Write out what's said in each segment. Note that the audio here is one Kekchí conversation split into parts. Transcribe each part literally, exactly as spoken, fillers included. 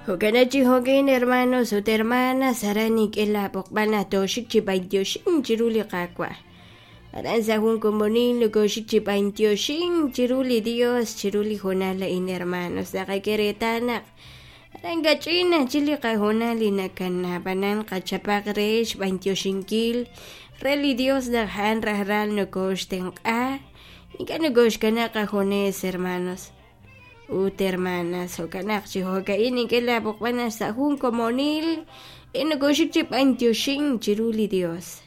Jo'kan chi jo'kin hermanos ut hermanas aran nink'e laab'oqb'al naq tooxik chi b'antioxink chiru li Qaawa'. Aran sa' jun komonil nokooxik chi b'antioxink chiru li Dios chiru li hoonal a'in hermanos naqak'e reetal naq aran kach'in ajchik li qahoonal li nakana ab'anan qachapaq re xb'antioxinkil re li Dios naq a'an rajlal nokooxtenq'a ink'a' nokooxkanab' qajunes hermanos ut hermanas jo'kan naq chi jo'ka'in nink'e laab'oqb'al naq sa' jun komonil e nokooxik chi b'antioxink chiru li Dios.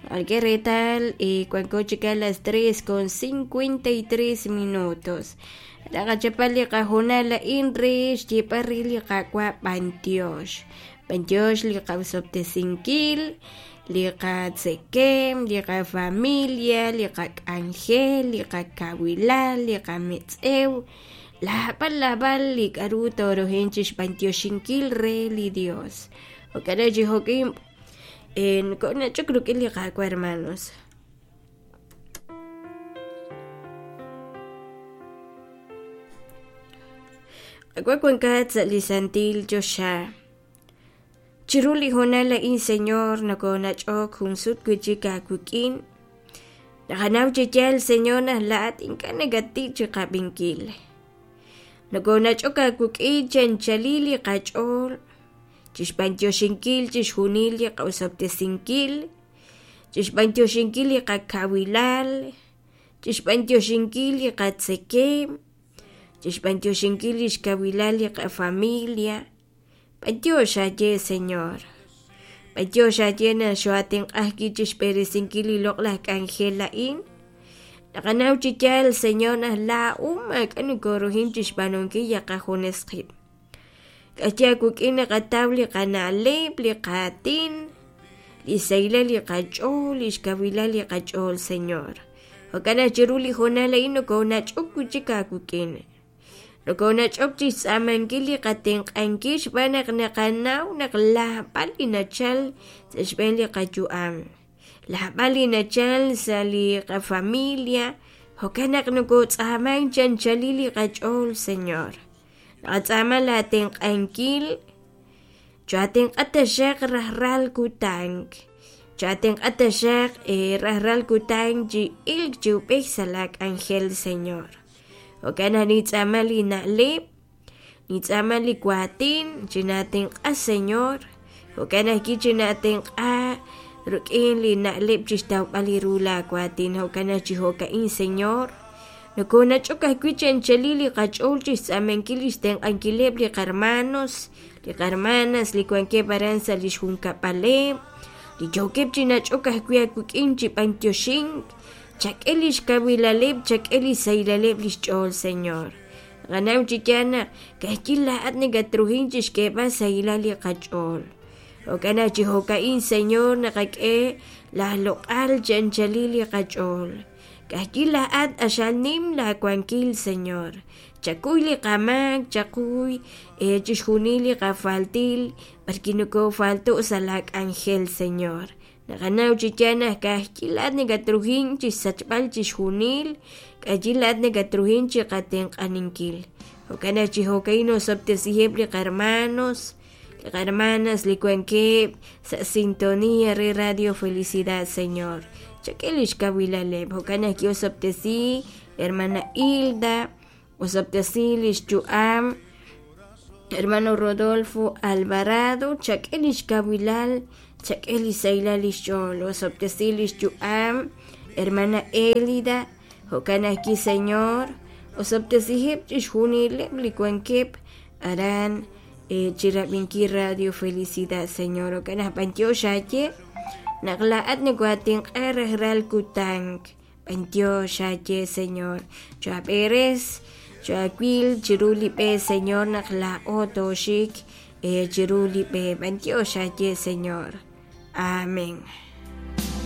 Naqak'e reetal wanko chik a las tres con cincuenta y tres minutos. Naqachapal li qahoonal a'in re xyeeb'al re li Qaawa' b'antiox. B'antiox li qasob'tesinkil, li qatzekem, li qafamilia, li qak'anjel, li qakawilal, li qametz'ew, laab'al laab'al li k'aru torojen chi xb'antioxinkil re li Dios. Jo'kan chi jo'kin nko'nach'ok rik'in li Qaawa' hermanos. Qaawa' wankat sa' li santil choxa. Chiru li hoonal a'in Señor nokoonach'ok jun sut wi'chik aawik'in. Naqanaw chi yaal Señor naq laa'at ink'a' nakattik chi qab'inkil. Nokoonach'ok aawik'in chanchalil li qach'ool, chixb'antioxinkil chixjunil li qasob'tesinkil, chixb'antioxinkil li qakawilal, chixb'antioxinkil li qatzekem, chixb'antioxinkil li xkawilal li qafamilia. B'antiox aaye Señor. B'antiox aaye naq xoatenq'ajki chixb'eresinkil li loq'laj k'anjel a'in. Naqanaw chi yaal Señor naq laa'u maak'a' nokoorujin chixb'aanunkil ya qajunes qib'. K'axya aawik'in naqataw li qana'leb', li qaatin, li sahilal li qach'ool, li xkawilal li qach'ool Señor. Jo'kan naq chiru li hoonal a'in nokoonach'ok wi'chik aawik'in. Nokoonach'ok chixtz'aamankil li qatenq'ankil xb'aan naq naqanaw naq laab'al li nachal sa' xb'een li qayu'am. Laab'al li nachal sa' li qafamilia, jo'kan naq nokotz'aaman chanchalil li qach'ool Señor. Naqatz'aama laatenq'ankil, choatenq'a taxaq rajlal kutan. Choatenq'a taxaq rajlal kutan chi ilk chi ub'ej sa' laak'anjel Señor. Jo'kan naq nitz'aama li na'leb', nitz'aama li waatin, chinatenq'a Señor. Jo'kan ajwi' chinatenq'a rik'in li na'leb' chixtawb'al li ru laawaatin. Jo'kan naq chi jo'ka'in Señor. Nokoonach'ok ajwi' chanchalil li qach'ool chixtz'aamankil li xtenq'ankileb' li qarmanos, li qarmanas li wankeb' aran sa' li xjunkab'aleb', li yookeb' chi nach'ok ajwi' aawik'in chi b'antioxink, chak'e li xkawilaleb', chak'e li sahilaleb' li xch'ool Señor. Naqanaw chi yaal naq ka'ajwi' laa'at nakatruhin chixk'eeb'al sahilal li qach'ool. Jo'kan naq chi jo'ka'in Señor naqak'e laaloq'al chanchalil li qach'ool. Ka'ajwi' laa'at axal nim laawankil Señor. Chakuy li qamaak, chakuy chixjunil li qafaltil, b'arki nokoofalto' sa' laak'anjel Señor. Naqanaw chi yaal naq ka'ajwi' laa'at nakatruhin chixsachb'al chixjunil, ka'ajwi' laa'at nakatruhin chiqatenq'aninkil. Jo'kan naq chi jo'ka'in osob'tesiheb' li qarmanos, li qarmanas li wankeb' sa' sintonía re Radio Felicidad Señor. Chak'e li xkawilaleb'. Jo'kan naq osob'tesi hermana Hilda, osob'tesi li xyu'am hermano Rodolfo Alvarado, chak'e li xkawilal, chak'e li sahilal li xch'ool, osob'tesi li xyu'am hermana Elida, jo'kan ajwi' Señor, osob'tesiheb' chixjunileb' li wankeb' aran chirab'inkil Radio Felicidad Señor. Jo'kan naq b'antiox aaye naq laa'at nokoatenq'a rajlal kutan. B'antiox aaye Señor. Choab'eres, choawil chiru li b'e Señor naq laa'o tooxik chiru li b'e. B'antiox aaye Señor. Amén.